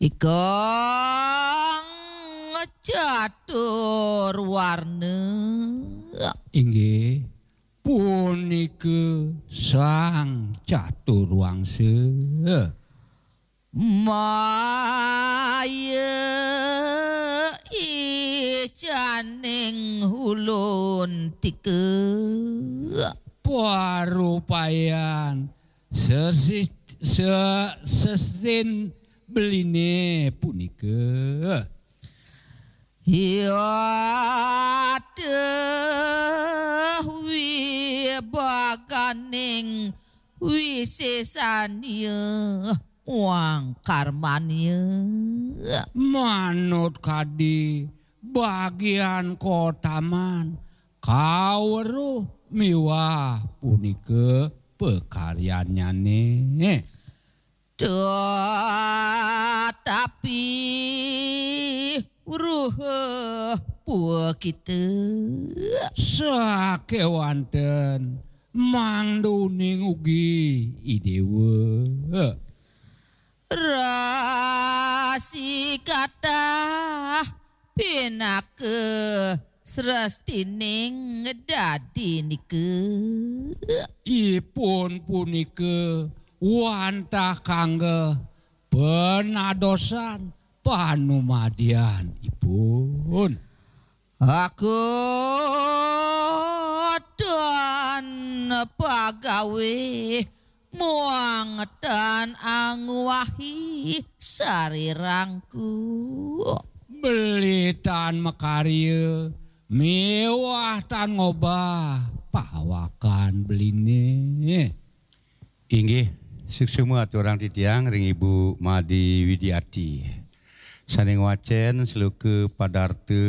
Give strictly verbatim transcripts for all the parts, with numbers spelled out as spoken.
Ikang catur warna. Inggih, punika sang catur wangsa. Maya icaning ulun tika. Parupayan sesis-, se-, sesin beline punika. Yatah wibaganing wisesanya wangkarmanya. Manut kadi bagian kotaman, kaweruh miwah punika pakaryannyane. Tetapi ruh pua kita. Sakewanten mangduning ugi Idewa. Rasi katah pinaka srestining dadi nika. Ipun punika wantah kangge penadosan panumadian ipun. Aku tan pagawe muang tan angwahi sarirangku. Beli tan makarya miwah tan ngobah pawakan beline. Inggih, suksma aturang titiang ring Ibu Madi Widiati. Sane ngwacen sloka padarta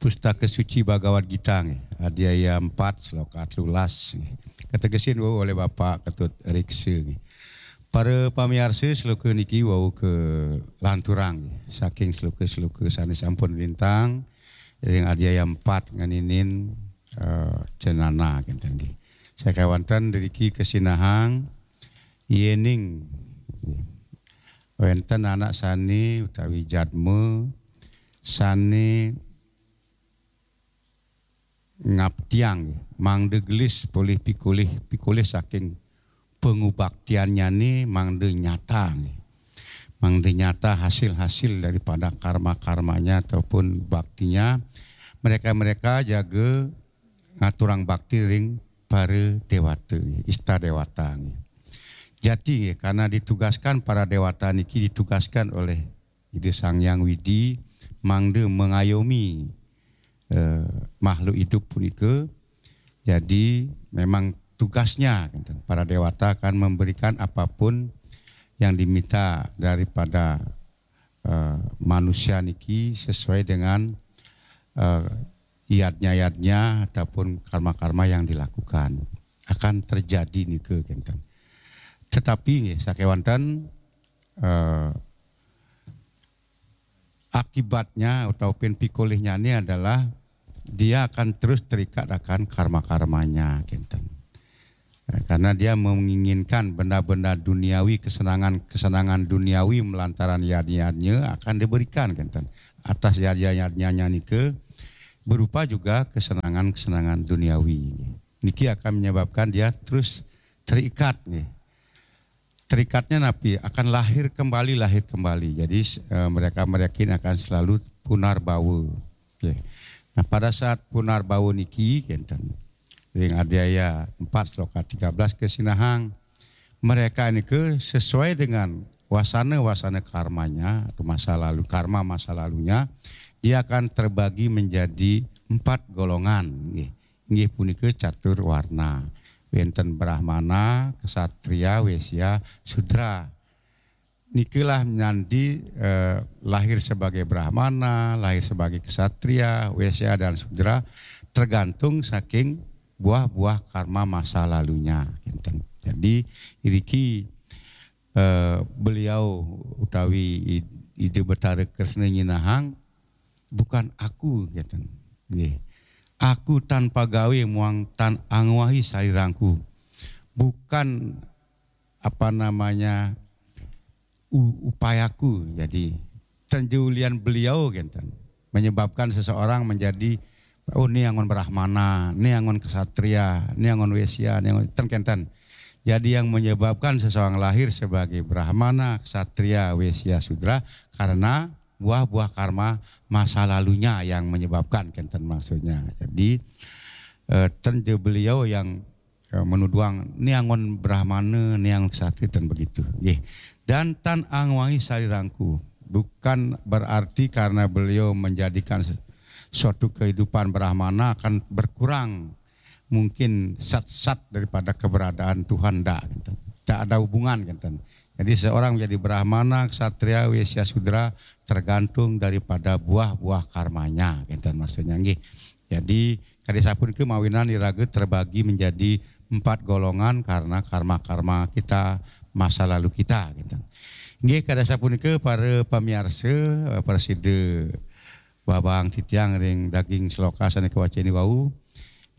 Pustaka Suci Bhagavad Gita nggih, adhyaya empat sloka telulas nggih. Kategesin wau oleh Bapak Ketut Riksa nggih. Para pamiarsa, sloka niki wau kalanturang nggih, saking sloka-sloka sane sampun lintang ring adhyaya empat ngeninin, eh, cenana kenten nggih. Sakewanten driki kasinahang yening wenten anak sane utawi jadma sane ngaptiang, mangda gelis polih pikolih, pikolih saking pangubaktiannyane mangda nyata, mangda nyata hasil-hasil daripada karma-karmanya ataupun baktinya. Mereka-mereka jaga ngaturang bakti ring para dewata, ista dewata. Jati nggih, karena ditugaskan para dewata niki ditugaskan oleh Ida Sang Hyang Widi mangda mengayomi, eh, makhluk hidup punika. Jadi memang tugasnya, kenten, para dewata akan memberikan apapun yang diminta daripada, eh, manusia niki sesuai dengan, eh, yadnya-yadnya ataupun karma-karma yang dilakukan. Akan terjadi nika, kenten. Tetapi nggih, sakewanten, eh, akibatnya ataupun pikolihnya ini adalah dia akan terus terikat akan karma-karmanya, kenten. Eh, karena dia menginginkan benda-benda duniawi, kesenangan-kesenangan duniawi melantaran yadnya-yadnya akan diberikan, kenten. Atas yadnya-yadnya nika berupa juga kesenangan-kesenangan duniawi. Niki akan menyebabkan dia terus terikat nggih. Terikatnya napi? Akan lahir kembali, lahir kembali. Jadi, eh, mereka-mereka ini akan selalu punarbawa. Nggih. Nah, pada saat punarbawa niki, kenten, ring adhyaya empat sloka tiga belas kasinahang, mereka ini ke sesuai dengan wasana-wasana karmanya atau masa lalu, karma masa lalunya, dia akan terbagi menjadi empat golongan. Nggih. Inggih punika catur warna. Wenten Brahmana, Ksatria, Wesya, Sudra. Nikalah nanti, eh, lahir sebagai Brahmana, lahir sebagai Ksatria, Wesya, dan Sudra, tergantung saking buah-buah karma masa lalunya, kenten. Jadi, iriki, eh, beliau utawi Id-, Ida Betara Kresna nyinahang, "Bukan aku," kenten. Nggih. "Aku tan pagawe muang tan angwahi sarirangku." Bukan, apa namanya, u- upayaku. Jadi, tenjulian beliau, kenten, menyebabkan seseorang menjadi, oh, ni anggon Brahmana, ni anggon Ksatria, ni anggon Wesya, ni anggon ten, kenten. Jadi, yang menyebabkan seseorang lahir sebagai Brahmana, Ksatria, Wesya, Sudra karena buah-buah karma masa lalunya yang menyebabkan, kenten, maksudnya. Jadi, eh, tenju beliau yang eh, menuduang ni anggon Brahmana, ni anggon Ksatria, dan begitu. Nggih. Dan tan angwangi sarirangku. Bukan berarti karena beliau menjadikan se- suatu kehidupan Brahmana akan berkurang mungkin sat-sat daripada keberadaan Tuhan, ndak, kenten. Tak ada hubungan, kenten. Jadi, seorang menjadi Brahmana, Ksatria, Wesya, Sudra tergantung daripada buah-buah karmanya, kenten, maksudnya, nggih. Jadi, kada sapunika mawinan iraga terbagi menjadi empat golongan karena karma-karma kita, masa lalu kita, kenten. Nggih, kada sapunika para pamiarsa, eh, prasida babang titiang ring daging sloka sane kawaceni wau.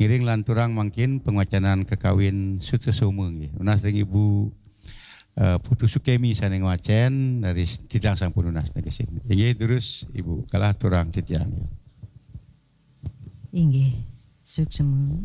Ngiring lanturang mangkin pangwacanan kakawin Sutasoma, nggih. Nunas ring Ibu, eh, Putu Sukemi sane ngwacen, dari titiang sampun nunas negesin. Inggih, durus Ibu, kalah turang titiang. Inggih, suksema.